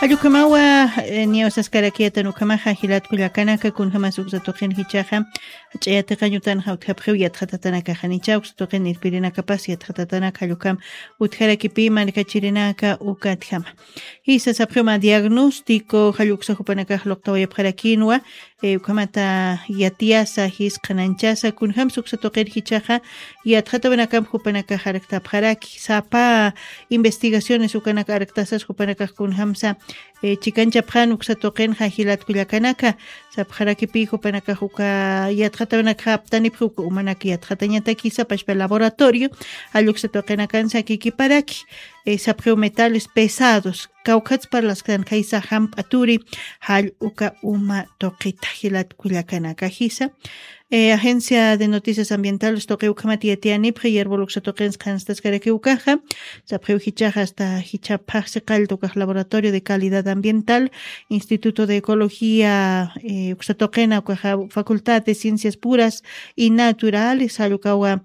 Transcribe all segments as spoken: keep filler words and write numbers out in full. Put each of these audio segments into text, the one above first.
Allukamawa, niyaw saskarakiyatan ukamaxa jilatku llakanaka kunjamas uksa tuqin jichaxa ch'ayatiqañutanxa utjapxiw yatxatatanakaxanicha uksa tuqin irpirinakapas yatxatatanaka jallukam utjarakipi markachirinaka ukatjama. Jisa sapxiwma diagnóstico jalluksa jupanakax luqtawayapxarakinwa. Ukamata yatiyasa jisqananchasa kunjamsa uksa tuqir jichaxa yatxatawanakam jupanakax arktapxaraki sapa investigaciones ukanaka arktasas jupanakax kunjamsa chikanchapxan uksa tuqinxa jilatku llakanaka. Sapxarakipi jupanakax uka yatxatawanakax aptanipxi uka umanak yatxatañatakisa pashpa laboratorio jalluksa tuqinakansa kikiparaki. Sapxiw metales pesados kawkhatspar lasktan khaysa jamp'aturi jall uka uma tuqita jilatku llakanaka jisa. Agencia de noticias ambientales tuqiw ukhamat yatiyanipxi yarbul uksa tuqinsa qhanstaskarakiw ukaxa. Sapxiw jichaxa asta jichhapxaxsi qallta ukax laboratorio de calidad ambiental, instituto de ecología uksa tuqina ukaxa facultad de ciencias puras y naturales jall ukawa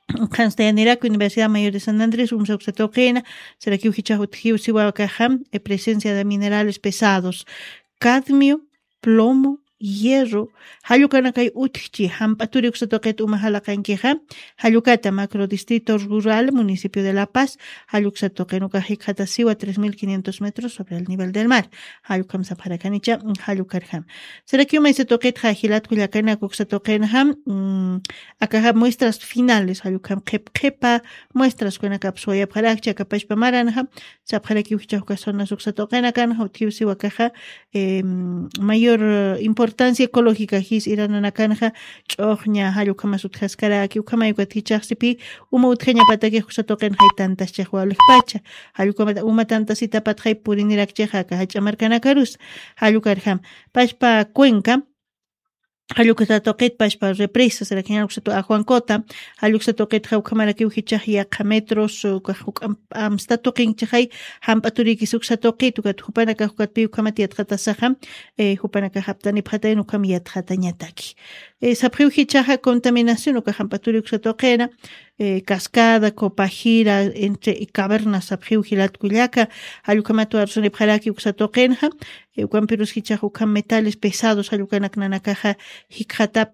qhanstayaniraku universidad mayor de san andrés umsa uksa tuqina. Sarakiw jichax utjiw siwa ukaxa presencia de minerales pesados, cadmio, plomo, hierro, jallukanakay utjchi jamp'aturi uksa tuqit uma jalaqankixa. Jallukata macro distrito rural municipio de la paz jalluksa tuqin ukax jikxatasiwa tres mil quinientos metros sobre el nivel del mar. Jallukam sapxarakanicha jallukarjam. Sarakiw maysa tuqitxa jilatku llakanak uksa tuqinxa akaxa muestras finales jallukam qhip qhipa muestras ukanakap suwayapxarakchi akapashpa maranxa. Sapxarakiw jichax uka zonas uksa tuqinakanxa utjiw siwa akaxa mayor importancia ecológica jis irananakanxa. Ch'uxña jall ukhamas utjaskaraki ukhamay ukat jichaxsipi uma utjañapatakix uksa tuqinxay tantaschix walixpacha jall ukamata uma tantasitapatxay purinirakchixa aka jach'a markanakarusa. Jall ukarjam pashpa cuenca jalluksa tuqit pashpa represa sarakiñan uksa tuqi ajuankota jalluksa tuqitxa ukhamarakiw jichax yaqha metros ukax juk'amp amsta tuqinchixay jamp'aturikis uksa tuqit ukat jupanakax ukatpiw ukhamat yatxatasaxa. Jupanakax aptanipxatayan ukham yatxatañataki. Sapxiw jichaxa contaminación uka jamp'aturi uksa tuqina cascada copajira entre cavernas sapxiw jilatku llaka. Jallukhamat warusanipxaraki uksa tuqinxa. Ukampirus jichax ukham metales pesados jallukanak nanakaxa jikxatap